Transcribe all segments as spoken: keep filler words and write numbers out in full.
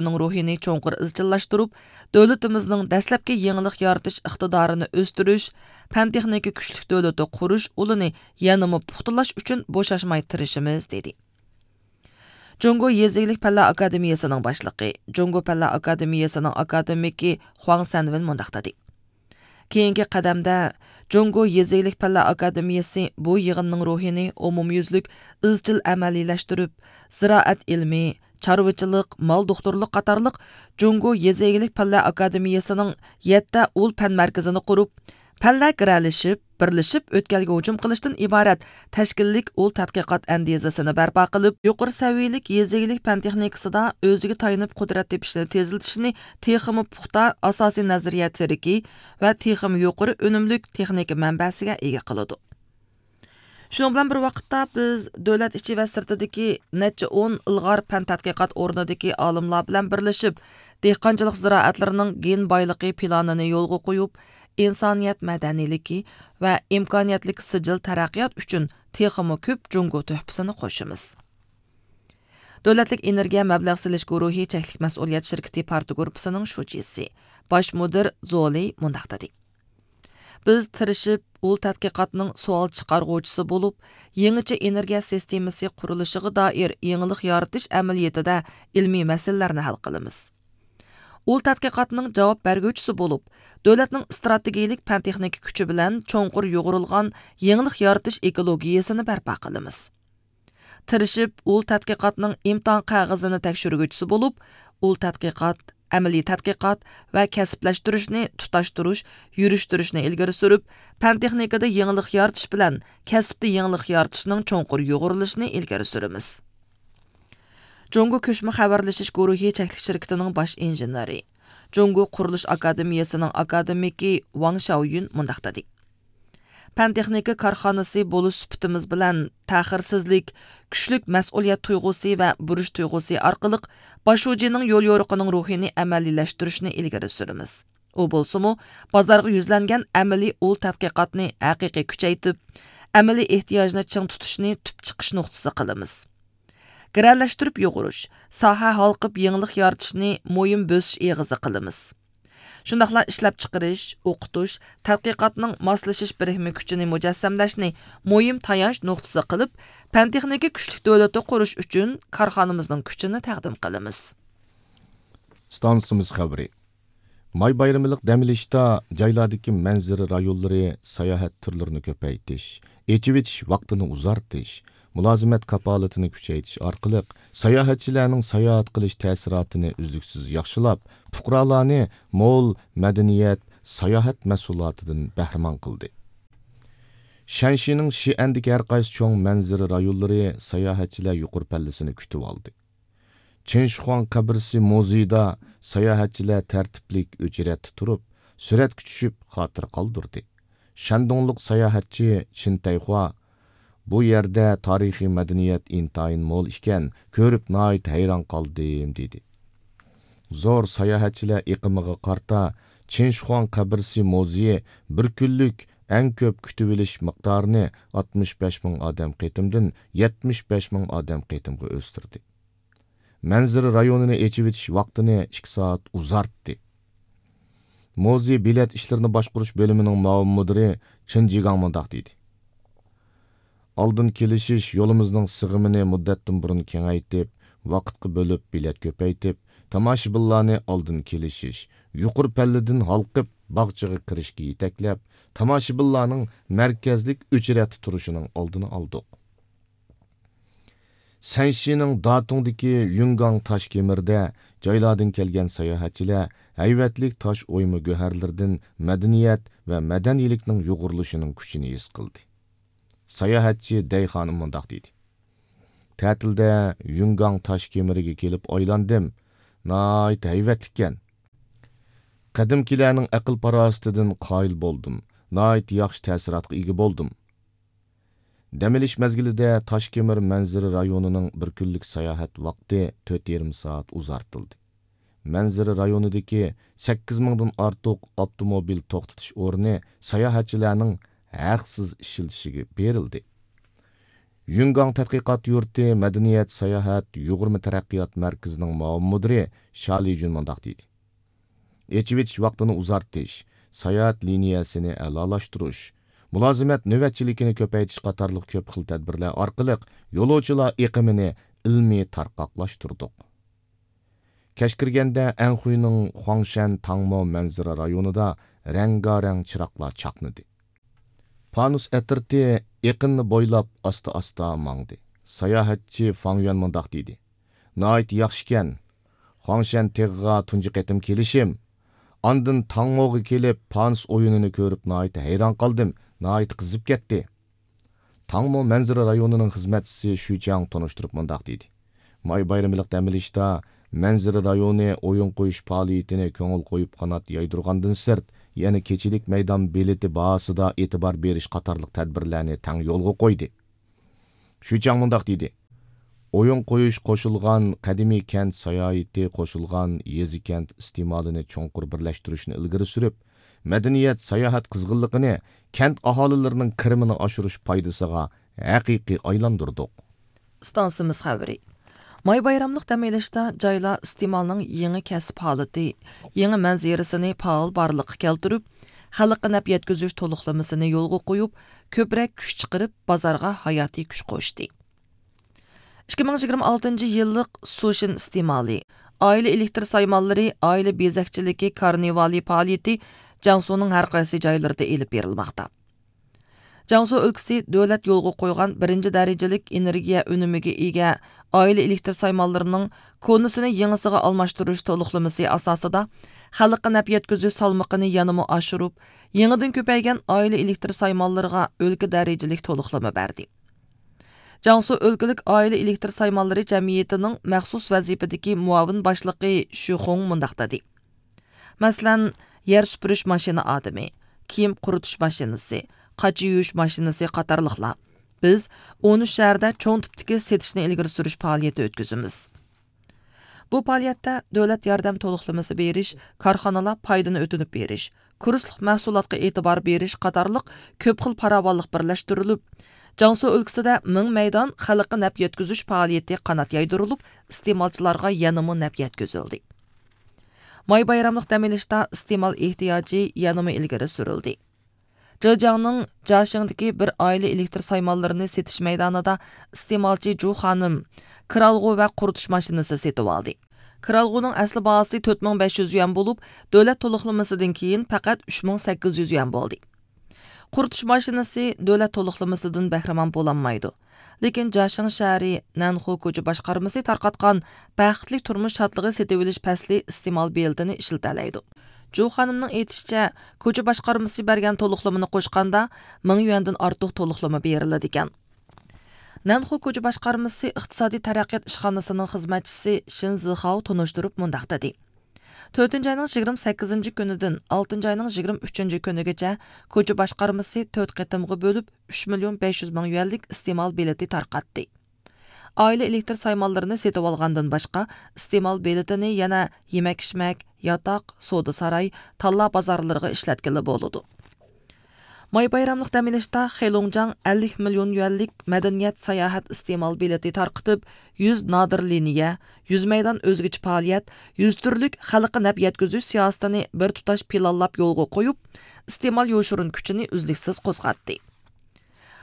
ئىنستىتۇتىنىڭ روھىنى چوڭقۇر ئىزچىللاشتۇرۇپ، دۆلىتىمىزنىڭ دەسلەپكى يېڭىلىق يارىتىش ئىقتىدارىنى ئۆستۈرۈش، پەن-تېخنىكا كۈچلۈك دۆلىتى قۇرۇش ئۇلىنى يەنىمۇ پۇختىلاش ئۈچۈن بوشاشماي تىرىشىمىز، دېدى. جۇڭگو يېزا ئىگىلىك پەنلەر ئاكادېمىيەسىنىڭ باشلىقى، جۇڭگو پەنلەر ئاكادېمىيەسىنىڭ ئاكادېمىكى خۇاڭ سەنۋېن مۇنداق دېدى: كېيىنكى قەدەمدە، جۇڭگو يېزا ئىگىلىك پەنلەر ئاكادېمىيەسى بۇ يىغىننىڭ روھىنى ئومۇميۈزلۈك ئىزچىل ئەمەلىيلەشتۈرۈپ، زىرائەت ئىلمى، چارۋىچىلىق، مال دوختۇرلۇق قاتارلىق جۇڭگو يېزا ئىگىلىك پەنلەر ئاكادېمىيەسىنىڭ يەتتە ئۇل پەن مەركىزىنى قۇرۇپ، پەنلەر گىرەلىشىپ، بىرلىشىپ ئۆتكەلگە ھۇجۇم قىلىشتىن ئىبارەت تەشكىللىك ئۇل تەتقىقات ئەندىزىسىنى بەرپا قىلىپ، يۇقىرى سەۋىيەلىك يېزا ئىگىلىك پەن تېخنىكىسىدا ئۆزىگە تايىنىپ قۇدرەت تېپىشنى تېزلىتىشنى تېخىمۇ پۇختا ئاساسىي نەزەرىيە تىرىكى ۋە تېخىمۇ يۇقىرى ئۈنۈملۈك تېخنىكا مەنبەسىگە ئىگە قىلىدۇ. شۇنىڭ بىلەن بىر ۋاقىتتا، بىز دۆلەت ئىچى ۋە سىرتىدىكى نەچچە ئون ئىلغار پەن تەتقىقات ئورنىدىكى ئالىملار بىلەن بىرلىشىپ، دېھقانچىلىق زىرائەتلىرىنىڭ گېن بايلىقى پىلانىنى يولغا قويۇپ، ئىنسانىيەت مەدەنىيلىكى ۋە ئىمكانىيەتلىك سىجىل تەرەققىيات ئۈچۈن تېخىمۇ كۆپ جۇڭگو تۆھپىسىنى قوشىمىز. دۆلەتلىك ئېنېرگىيە مەبلەغ سېلىش گۇرۇھى چەكلىك مەسئۇلىيەت شىركىتى پارتگۇرۇپپىسىنىڭ شۇجىسى، باش مۇدىر زولى مۇنداق دېدى: بىز تىرىشىپ، ئۇل تەتقىقاتنىڭ سوئال چىقارغۇچىسى بولۇپ، يېڭىچە ئېنېرگىيە سىستېمىسى قۇرۇلۇشىغا دائىر يېڭىلىق يارىتىش ئەمەلىيىتىدە ئىلمىي مەسىلىلەرنى ھەل قىلىمىز. ئۇل تەتقىقاتنىڭ جاۋاب بەرگۈچىسى بولۇپ، دۆلەتنىڭ ئىستراتېگىيىلىك پەن-تېخنىكا كۈچى بىلەن چوڭقۇر يۇغۇرۇلغان يېڭىلىق يارىتىش ئېكولوگىيەسىنى بەرپا قىلىمىز. تىرىشىپ، ئۇل تەتقىقاتنىڭ ئىمتىھان قەغىزىنى تەكشۈرگۈچىسى بولۇپ، ئۇل تەتقىقات، ئەمەلىي تەتقىقات ۋە كەسىپلەشتۈرۈشنى تۇتاشتۇرۇش، يۈرۈشتۈرۈشنى ئىلگىرى سۈرۈپ، پەن-تېخنىكىدا يېڭىلىق يارىتىش بىلەن كەسىپتە يېڭىلىق يارىتىشنىڭ چوڭقۇر يۇغۇرۇلۇشىنى ئىلگىرى سۈرىمىز. جۇڭگو كۆچمە خەۋەرلىشىش گۇرۇھى چەكلىك شىركىتىنىڭ باش ئىنژېنېرى، جۇڭگو قۇرۇلۇش ئاكادېمىيەسىنىڭ ئاكادېمىكى ۋاڭ شياۋيۈن مۇنداق دېدى: پەن-تېخنىكا كارخانىسى بولۇش سۈپىتىمىز بىلەن تەخىرسىزلىك، كۈچلۈك مەسئۇلىيەت تۇيغۇسى ۋە بۇرچ تۇيغۇسى ئارقىلىق باش شۇجىنىڭ يوليورۇقىنىڭ روھىنى ئەمەلىيلەشتۈرۈشنى ئىلگىرى سۈرىمىز. ئۇ بولسىمۇ، بازارغا يۈزلەنگەن ئەمەلىي ئۇل تەتقىقاتنى ھەقىقىي كۈچەيتىپ، ئەمەلىي ئېھتىياجنى چىڭ تۇتۇشنى تۈپ چىقىش نۇقتىسى قىلىمىز. گىرەلەشتۈرۈپ يۇغۇرۇش، ساھە ھالقىپ يېڭىلىق يارىتىشنى مۇھىم بۆسۈش ئېغىزى قىلىمىز. شۇنداقلا ئىشلەپچىقىرىش، ئوقۇتۇش، تەتقىقاتنىڭ ماسلىشىش بىرىكمە كۈچىنى مۇجەسسەملەشنى مۇھىم تايانچ نۇقتىسى قىلىپ، پەن-تېخنىكا كۈچلۈك دۆلىتى قۇرۇش ئۈچۈن كارخانىمىزنىڭ كۈچىنى تەقدىم قىلىمىز. ئىستانسىمىز خەۋىرى. ماي بايرىملىق دەم ئېلىشتا جايلاردىكى مەنزىرە رايونلىرى ساياھەت تۈرلىرىنى كۆپەيتىش، ئېچىۋېتىش ۋاقتىنى ئۇزارتىش، مۇلازىمەت كاپالىتىنى كۈچەيتىش ئارقىلىق ساياھەتچىلەرنىڭ ساياھەت قىلىش تەسىراتىنى ئۈزلۈكسىز ياخشىلاپ، پۇقرالارنى مول مەدەنىيەت، ساياھەت مەھسۇلاتىدىن بەھرىمەن قىلدى. شەنشىنىڭ شىئەندىكى ھەر قايسى چوڭ مەنزىرە رايونلىرى ساياھەتچىلەر يۇقىرى پەللىسىنى كۈتۈۋالدى. چىن شىخۇاڭ قەبرىسى مۇزېيىدا ساياھەتچىلەر تەرتىپلىك ئۆچرەتتە تۇرۇپ، سۈرەتكە چۈشۈپ، خاتىرە قالدۇردى. شەندۇڭلۇق ساياھەتچى چىن تەيخۇا، «بۇ يەردە تارىخىي مەدەنىيەت ئىنتايىن مول ئىكەن، كۆرۈپ ناھايىتى ھەيران قالدىم» دېدى. زور ساياھەتچىلەر ئېقىمىغا قارىتا، چىن شىخۇاڭ قەبرىسى مۇزېيى بىر كۈنلۈك ئەڭ كۆپ كۈتۈۋېلىش مىقدارىنى ئاتمىش بەش مىڭ ئادەم قېتىمدىن يەتمىش بەش مىڭ ئادەم قېتىمغا ئۆستۈردى. مەنزىرە رايونىنى ئېچىۋېتىش ۋاقتىنى ئىككى سائەت ئۇزارتتى. مۇزېي بېلەت ئىشلىرىنى باشقۇرۇش بۆلۈمىنىڭ مۇئاۋىن مۇدىرى چېن جىگاڭ مۇنداق دېدى: «ئالدىن كېلىشىش يولىمىزنىڭ سىغىمىنى مۇددەتتىن بۇرۇن كېڭەيتىپ، ۋاقىتقا بۆلۈپ بېلەت كۆپەيتىپ، تاماشىبىنلارنى ئالدىن كېلىشىش، يۇقىرى پەللىدىن ھالقىپ باغچىغا كىرىشكە يېتەكلەپ، تاماشىبىنلارنىڭ مەركەزلىك ئۆچرەتتە تۇرۇشىنىڭ ئالدىنى ئالدۇق.» سەنشىنىڭ داتۇڭدىكى يۈنگاڭ تاش كېمىرىدە جايلاردىن كەلگەن ساياھەتچىلەر ھەيۋەتلىك تاش ئويما گۆھەرلىرىدىن مەدەنىيەت ۋە مەدەنىيلىكنىڭ يۇغۇرۇلۇشىنىڭ كۈچىنى ھېس قىلدى. ساياھەتچى دەي خانىم مۇنداق دېدى: «تەتىلدە يۈنگاڭ تاش كېمىرىگە كېلىپ ئايلاندىم. ناھايىتى ھەيۋەتلىككەن. قەدىمكىلەرنىڭ ئەقىل-پاراسىتىدىن قايىل بولدۇم. ناھايىتى ياخشى تەسىراتقا ئىگە بولدۇم.» دەم ئېلىش مەزگىلىدە تاشكېمىر مەنزىرە رايونىنىڭ بىر كۈنلۈك ساياھەت ۋاقتى تۆت يېرىم سائەت ئۇزارتىلدى. مەنزىرە رايونىدىكى سەككىز مىڭدىن ئارتۇق ئاپتوموبىل توختىتىش ئورنى ساياھەتچىلەرنىڭ ھەقسىز ئىشلىتىشىگە بېرىلدى. يۈنگاڭ تەتقىقات يۇرتى مەدەنىيەت ساياھەت يۇغۇرما تەرەققىيات مەركىزىنىڭ مۇئاۋىن مۇدىرى شيا لىجۈن مۇنداق دېدى: ئېچىۋېتىش ۋاقتىنى ئۇزارتىش، ساياھەت لىنىيەسىنى ئەلالاشتۇرۇش، مۇلازىمەت نۆۋەتچىلىكىنى كۆپەيتىش قاتارلىق كۆپ خىل تەدبىرلەر ئارقىلىق يولۇچىلار ئېقىمىنى ئىلمىي تارقاقلاشتۇردۇق. كەچ كىرگەندە ئەنخۇينىڭ خۇاڭشەن تاڭمو مەنزىرە رايونىدا رەڭگارەڭ چىراغلار چاقنىدى. پانۇس ئەترىتى ئېقىننى بويلاپ ئاستا-ئاستا ماڭدى. ساياھەتچى فاڭ يۈەن مۇنداق دېدى: ناھايىتى ياخشىكەن. خۇاڭشەن تېغىغا تۇنجى قېتىم كېلىشىم. ئاندىن تاڭموغا كېلىپ، پانۇس ئويۇنىنى كۆرۈپ ناھايىتى ھەيران قالدىم، ناھايىتى قىزىپ كەتتى. تاڭمو مەنزىرە رايونىنىڭ خىزمەتچىسى شۈچياڭ تونۇشتۇرۇپ مۇنداق دېدى: ماي بايرىملىق دەم ئېلىشتا مەنزىرە رايونى ئويۇن قويۇش پائالىيىتىنى كۆڭۈل قويۇپ قانات يايدۇرغاندىن سىرت، يەنە كېچىلىك مەيدان بېلىتى باھاسىدا ئېتىبار بېرىش قاتارلىق تەدبىرلەرنى تەڭ يولغا قويدى. شۈچياڭ مۇنداق دېدى: ئويۇن قويۇش قوشۇلغان قەدىمىي كەنت ساياھىتى قوشۇلغان يېزا كەنت ئىستېمالىنى چوڭقۇر بىرلەشتۈرۈشنى ئىلگىرى سۈرۈپ، مەدەنىيەت ساياھەت قىزغىنلىقىنى كەنت ئاھالىلىرىنىڭ كىرىمىنى ئاشۇرۇش پايدىسىغا ھەقىقىي ئايلاندۇردۇق. ئىستانسىمىز خەۋىرى. ماي بايراملىق دەم ئېلىشتا جايلار ئىستېمالنىڭ يېڭى كەسىپ ھالىتى، يېڭى مەنزىرىسىنى پائال بارلىققا كەلتۈرۈپ، خەلققە نەپ يەتكۈزۈش تولۇقلىمىسىنى يولغا قويۇپ، كۆپرەك كۈچ چىقىرىپ، بازارغا ھاياتىي كۈچ قوشتى. ئىككى مىڭ يىگىرمە ئالتىنچى يىللىق سۇشىن ئىستېمالى، ئائىلە ئېلېكتر سايمانلىرى، ئائىلە بېزەكچىلىكى كارنىۋالى پائالىيىتى جياڭسۇنىڭ ھەر قايسى جايلىرىدا ئېلىپ بېرىلماقتا. جياڭسۇ ئۆلكىسى دۆلەت يولغا قويغان بىرىنچى دەرىجىلىك ئېنېرگىيە ئۈنۈمىگە ئىگە ئائىلە ئېلېكتر سايمانلىرىنىڭ كونىسىنى يېڭىسىغا ئالماشتۇرۇش تولۇقلىمىسى ئاساسىدا، خەلققە نەپ يەتكۈزۈش سالمىقىنى يەنىمۇ ئاشۇرۇپ، يېڭىدىن كۆپەيگەن ئائىلە ئېلېكتر سايمانلىرىغا ئۆلكە دەرىجىلىك تولۇقلىما بەردى. جياڭسۇ ئۆلكىلىك ئائىلە ئېلېكتر سايمانلىرى جەمئىيىتىنىڭ مەخسۇس ۋەزىپىدىكى مۇئاۋىن باشلىقى شۈ خۇڭ مۇنداق دېدى: مەسىلەن، يەر سۈپۈرۈش ماشىنا ئادىمى، كىيىم قۇرۇتۇش ماشىنىسى، قاچا يۇيۇش ماشىنىسى قاتارلىقلار. بىز ئون ئۈچ شەھەردە چوڭ تىپتىكى سېتىشنى ئىلگىرى سۈرۈش پائالىيىتى ئۆتكۈزىمىز. بۇ پائالىيەتتە دۆلەت ياردەم تولۇقلىمىسى بېرىش، كارخانىلار پايدىنى ئۆتۈنۈپ بېرىش، كۇرسلۇق مەھسۇلاتقا ئېتىبار بېرىش قاتارلىق كۆپ خىل پاراۋانلىق بىرلەشتۈرۈلۈپ، جياڭسۇ ئۆلكىسىدە مىڭ مەيدان خەلققە نەپ يەتكۈزۈش پائالىيىتى قانات يايدۇرۇلۇپ، ئىستېمالچىلارغا يەنىمۇ نەپ يەتكۈزۈلدى. ماي بايراملىق دەم ئېلىشتا ئىستېمال ئېھتىياجى يەنىمۇ ئىلگىرى سۈرۈلدى. جېجياڭنىڭ جاشىڭدىكى بىر ئائىلە ئېلېكتر سايمانلىرىنى سېتىش مەيدانىدا ئىستېمالچى جۇ خانىم كىرئالغۇ ۋە قۇرۇتۇش ماشىنىسى سېتىۋالدى. كىرئالغۇنىڭ ئەسلى باھاسى تۆت مىڭ بەش يۈز يۈەن بولۇپ، دۆلەت تولۇقلىمىسىدىن كېيىن پەقەت ئۈچ مىڭ سەككىز يۈز يۈەن بولدى. قۇرۇتۇش ماشىنىسى دۆلەت تولۇقلىمىسىدىن بەھرىمەن بولالمايدۇ. لېكىن جاشىڭ شەھىرى نەنخۇ كوچا باشقارمىسى تارقاتقان بەختلىك تۇرمۇش شادلىقى سېتىۋېلىش پەسلى ئىستېمال بېلىتىنى ئىشلىتەلەيدۇ. جۇ خانىمنىڭ ئېيتىشىچە، كوچا باشقارمىسى بەرگەن تولۇقلىمىنى قوشقاندا، مىڭ يۈەندىن ئارتۇق تولۇقلىما بېرىلىدىكەن. نەنخۇ كوچا باشقارمىسى ئىقتىسادىي تەرەققىيات ئىشخانىسىنىڭ خىزمەتچىسى شىن زىخاۋ تونۇشتۇرۇپ مۇنداق دېدى: تۆتىنچى ئاينىڭ يىگىرمە سەككىزىنچى كۈنىدىن ئالتىنچى ئاينىڭ يىگىرمە ئۈچىنچى كۈنىگىچە كوچا باشقارمىسى تۆت قېتىمغا بۆلۈپ، ئۈچ مىليون بەش يۈز مىڭ يۈەنلىك ئىستېمال بېلىتى تارقاتتى. ئائىلە ئېلېكتر سايمانلىرىنى سېتىۋالغاندىن باشقا، ئىستېمال بېلىتىنى يەنە يېمەك-ئىچمەك، ياتاق، سودا ساراي، تاللا بازارلىرىغا ئىشلەتكىلى بولىدۇ. ماي بايراملىق دەم ئېلىشتا خېلۇڭجاڭ ئەللىك مىليون يۈەنلىك مەدەنىيەت ساياھەت ئىستېمال بېلىتى تارقىتىپ، يۈز نادىر لىنىيە، يۈز مەيدان ئۆزگىچە پائالىيەت، يۈز تۈرلۈك خەلققە نەپ يەتكۈزۈش سىياسىتىنى بىر تۇتاش پىلانلاپ يولغا قويۇپ، ئىستېمال يوشۇرۇن كۈچىنى ئۈزلۈكسىز قوزغاتتى.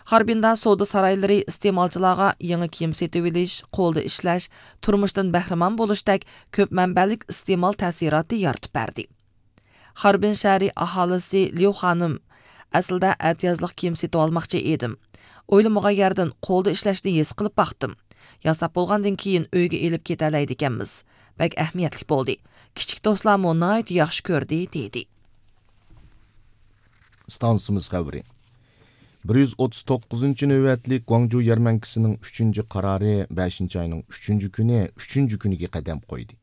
خاربىندا سودا سارايلىرى ئىستېمالچىلارغا يېڭى كىيىم سېتىۋېلىش، قولدا ئىشلەش، تۇرمۇشتىن بەھرىمەن بولۇشتەك كۆپ مەنبەلىك ئىستېمال تەسىراتى يارىتىپ بەردى. خاربىن شەھىرى ئاھالىسى ليۇ خانىم، ئەسلىدە ئەتىيازلىق كىيىم سېتىۋالماقچى ئىدىم. ئويلىمىغان يەردىن قولدا ئىشلەشنى ھېس قىلىپ باقتىم. ياساپ بولغاندىن كېيىن ئۆيگە ئېلىپ كېتەلەيدىكەنمىز. بەك ئەھمىيەتلىك بولدى. كىچىك دوستلارمۇ ناھايىتى ياخشى كۆردى، دېدى. ئىستانسىمىز خەۋىرى. بىر يۈز ئوتتۇز توققۇزىنچى نۆۋەتلىك گۇاڭجۇ يەرمەنكىسىنىڭ ئۈچىنچى قارارى بەشىنچى ئاينىڭ ئۈچىنچى كۈنى، ئۈچىنچى كۈنىگە قەدەم قويدى.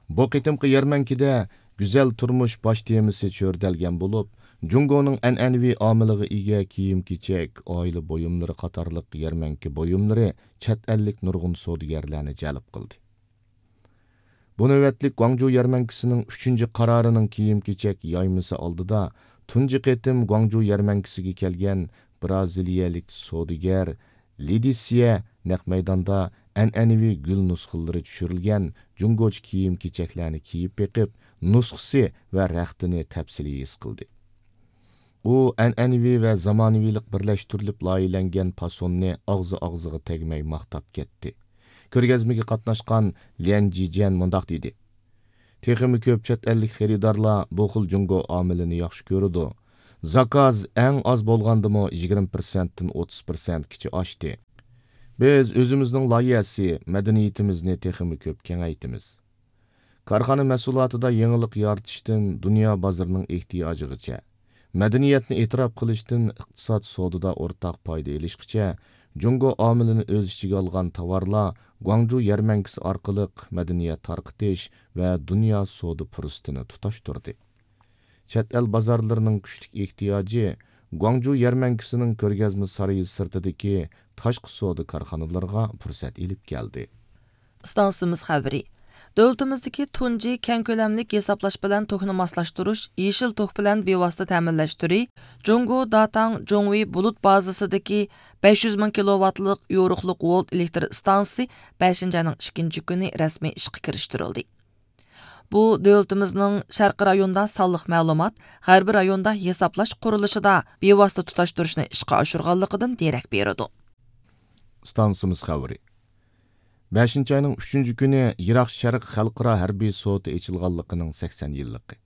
بۇ قېتىمقى يەرمەنكىدە گۈزەل تۇرمۇش باش تېمىسى چۆرىدەلگەن بولۇپ، جۇڭگونىڭ ئەنئەنىۋى ئامىلىغا ئىگە كىيىم-كېچەك، ئائىلە بۇيۇملىرى قاتارلىق يەرمەنكە بۇيۇملىرى چەت ئەللىك نۇرغۇن سودىگەرلەرنى جەلپ قىلدى. بۇ نۆۋەتلىك گۇاڭجۇ يەرمەنكىسىنىڭ ئۈچىنچى قارارىنىڭ كىيىم-كېچەك يايمىسى ئالدىدا تۇنجى قېتىم گۇاڭجۇ يەرمەنكىسىگە كەلگەن برازىلىيەلىك سودىگەر لېدىسىيە نەق مەيداندا ئەنئەنىۋى گۈل نۇسخىلىرى چۈشۈرۈلگەن جۇڭگوچە كىيىم-كېچەكلەرنى كىيىپ بېقىپ، نۇسخىسى ۋە رەختىنى تەپسىلىي ھېس قىلدى. ئۇ ئەنئەنىۋى ۋە زامانىۋىلىق بىرلەشتۈرۈلۈپ لايىھەلەنگەن پاسوننى ئاغزى-ئاغزىغا تەگمەي ماختاپ كەتتى. كۆرگەزمىگە قاتناشقان ليەن جىجيەن مۇنداق دېدى: تېخىمۇ كۆپ چەت ئەللىك خېرىدارلار بۇ خىل جۇڭگو ئامىلىنى ياخشى كۆرىدۇ. زاكاز ئەڭ ئاز بولغاندىمۇ يىگىرمە پىرسەنتتىن ئوتتۇز پىرسەنتكىچە ئاشتى. بىز ئۆزىمىزنىڭ لايىھەسى، مەدەنىيىتىمىزنى تېخىمۇ كۆپ كېڭەيتىمىز. كارخانا مەھسۇلاتىدا يېڭىلىق يارىتىشتىن دۇنيا بازىرىنىڭ ئېھتىياجىغىچە، مەدەنىيەتنى ئېتىراپ قىلىشتىن ئىقتىساد سودىدا ئورتاق پايدا ئېلىشقىچە، جۇڭگو ئامىلىنى ئۆز ئىچىگە ئالغان تاۋارلار گۇاڭجۇ يەرمەنكىسى ئارقىلىق مەدەنىيەت تارقىتىش ۋە دۇنيا سودا پۇرسىتىنى تۇتاشتۇردى. چەت ئەل بازارلىرىنىڭ كۈچلۈك ئېھتىياجى گۇاڭجۇ يەرمەنكىسىنىڭ كۆرگەزمە سارىيى سىرتىدىكى تاشقى سودا كارخانىلىرىغا پۇرسەت ئېلىپ كەلدى. ئىستانسىمىز خەۋىرى. دۆلىتىمىزدىكى تۇنجى كەڭ كۆلەملىك ھېسابلاش بىلەن توكنى ماسلاشتۇرۇش يېشىل توك بىلەن بىۋاسىتە تەمىنلەش تۈرى جۇڭگو داتاڭ جۇڭۋېي بۇلۇت بازىسىدىكى بەش يۈز مىڭ كىلوۋاتلىق يورۇقلۇق ۋولت ئېلېكتر ئىستانسىسى بەشىنچى ئاينىڭ ئىككىنچى كۈنى رەسمىي ئىشقا كىرىشتۈرۈلدى. بۇ دۆلىتىمىزنىڭ شەرقىي رايوندا سانلىق مەلۇمات، غەربىي رايوندا ھېسابلاش قۇرۇلۇشىدا بىۋاسىتە تۇتاشتۇرۇشنى ئىشقا ئاشۇرغانلىقىدىن دېرەك بېرىدۇ. ئىستانسىمىز خەۋىرى. بەشىنچى ئاينىڭ ئۈچىنچى كۈنى يىراق شەرق خەلقئارا ھەربىي سوتى ئېچىلغانلىقىنىڭ سەكسەن يىللىقى.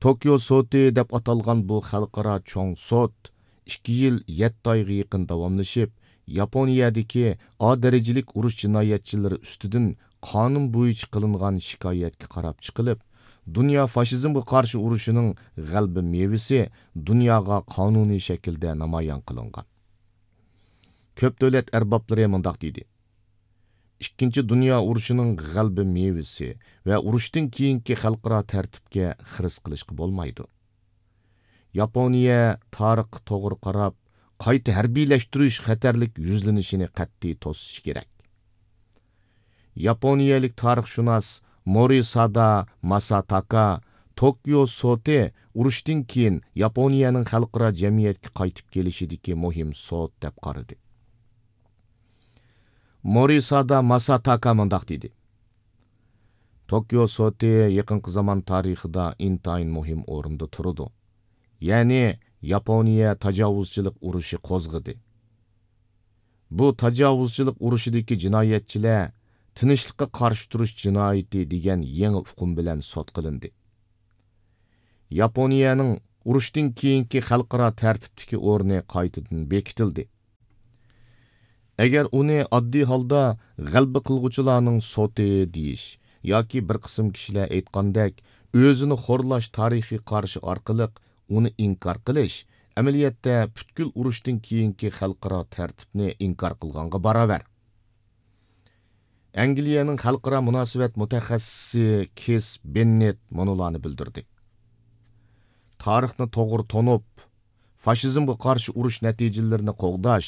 توكيو سوتى دەپ ئاتالغان بۇ خەلقئارا چوڭ سوت ئىككى يىل يەتتە ئايغا يېقىن داۋاملىشىپ، ياپونىيەدىكى ئا دەرىجىلىك ئۇرۇش جىنايەتچىلىرى ئۈستىدىن قانۇن بويىچە قىلىنغان شىكايەتكە قاراپ چىقىلىپ، دۇنيا فاشىزمغا قارشى ئۇرۇشىنىڭ غەلىبە مېۋىسى دۇنياغا قانۇنىي شەكىلدە نامايان قىلىنغان. كۆپ دۆلەت ئەربابلىرى مۇنداق دېدى: ئىككىنچى دۇنيا ئۇرۇشىنىڭ غەلىبە مېۋىسى ۋە ئۇرۇشتىن كېيىنكى خەلقئارا تەرتىپكە خىرىس قىلىشقا بولمايدۇ. ياپونىيە تارىخقا توغرا قاراپ، قايتا ھەربىيلەشتۈرۈش خەتەرلىك يۈزلىنىشىنى قەتئىي توسۇشى كېرەك. ياپونىيەلىك تارىخشۇناس مورىسادا ماساتاكا توكيو سوتى ئۇرۇشتىن كېيىن ياپونىيەنىڭ خەلقئارا جەمئىيەتكە قايتىپ كېلىشىدىكى مۇھىم سوت دەپ قارىدى. مورىسادا ماساتاكا مۇنداق دېدى: توكيو سوتى يېقىنقى زامان تارىخىدا ئىنتايىن مۇھىم ئورۇندا تۇرىدۇ. يەنى ياپونىيە تاجاۋۇزچىلىق ئۇرۇشى قوزغىدى. بۇ تاجاۋۇزچىلىق ئۇرۇشىدىكى جىنايەتچىلەر تىنچلىققا قارشى تۇرۇش جىنايىتى دېگەن يېڭى ئۇقۇم بىلەن سوت قىلىندى. ياپونىيەنىڭ ئۇرۇشتىن كېيىنكى خەلقئارا تەرتىپتىكى ئورنى قايتىدىن بېكىتىلدى. ئەگەر ئۇنى ئاددىي ھالدا غەلىبە قىلغۇچىلارنىڭ سوتى دېيىش ياكى بىر قىسىم كىشىلەر ئېيتقاندەك ئۆزىنى خورلاش تارىخىي قارىشى ئارقىلىق ئۇنى ئىنكار قىلىش، ئەمەلىيەتتە پۈتكۈل ئۇرۇشتىن كېيىنكى خەلقئارا تەرتىپنى ئىنكار قىلغانغا باراۋەر. ئەنگلىيەنىڭ خەلقئارا مۇناسىۋەت مۇتەخەسسىسى كىس بېننېت مۇنۇلارنى بىلدۈردى: تارىخنى توغرا تونۇپ، فاشىزمغا قارشى ئۇرۇش نەتىجىلىرىنى قوغداش،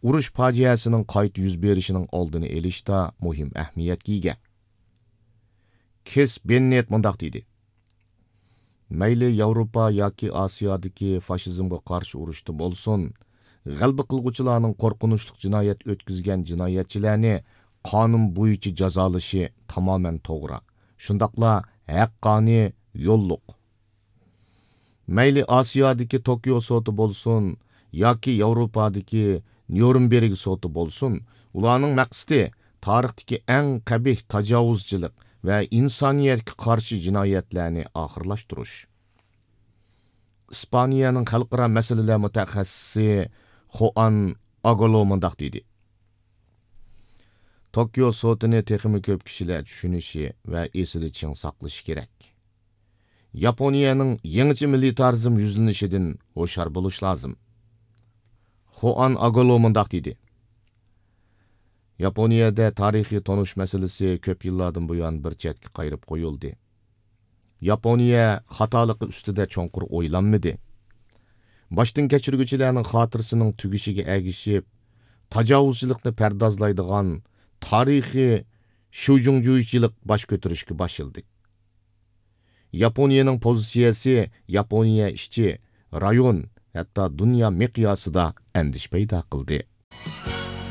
ئۇرۇش پاجىئەسىنىڭ قايتا يۈز بېرىشىنىڭ ئالدىنى ئېلىشتا مۇھىم ئەھمىيەتكە ئىگە. كىس بېننېت مۇنداق دېدى: مەيلى ياۋروپا ياكى ئاسىيادىكى فاشىزمغا قارشى ئۇرۇشتا بولسۇن، غەلىبە قىلغۇچىلارنىڭ قورقۇنچلۇق جىنايەت ئۆتكۈزگەن جىنايەتچىلەرنى قانۇن بويىچە جازالىشى تامامەن توغرا، شۇنداقلا ھەققانىي يوللۇق. مەيلى ئاسىيادىكى توكيو سوتى بولسۇن ياكى ياۋروپادىكى نيۇرنبېرگ سوتى بولسۇن، ئۇلارنىڭ مەقسىتى تارىختىكى ئەڭ قەبىھ تاجاۋۇزچىلىق ۋە ئىنسانىيەتكە قارشى جىنايەتلەرنى ئاخىرلاشتۇرۇش. ئىسپانىيەنىڭ خەلقئارا مەسىلىلەر مۇتەخەسسىسى خوئان ئاگولو مۇنداق دېدى: توكيو سوتىنى تېخىمۇ كۆپ كىشىلەر چۈشىنىشى ۋە ئېسىدە چىڭ ساقلىشى كېرەك. ياپونىيەنىڭ يېڭىچە مىلىتارىزم يۈزلىنىشىدىن ھوشيار بولۇش لازىم. خوئان ئاگولو مۇنداق دېدى: ياپونىيەدە تارىخىي تونۇش مەسىلىسى كۆپ يىللاردىن بۇيان بىر چەتكە قايرىپ قويۇلدى. ياپونىيە خاتالىقى ئۈستىدە چوڭقۇر ئويلانمىدى. باشتىن كەچۈرگۈچىلەرنىڭ خاتىرىسىنىڭ تۈگىشىگە ئەگىشىپ، تاجاۋۇزچىلىقنى پەردازلايدىغان تارىخىي شۇجۇڭجۇيچىلىق باش كۆتۈرۈشكە باشلىدى. ياپونىيەنىڭ پوزىتسىيەسى ياپونىيە ئىچى، رايون، ھەتتا دۇنيا مىقياسىدا ئەندىشە پەيدا قىلدى.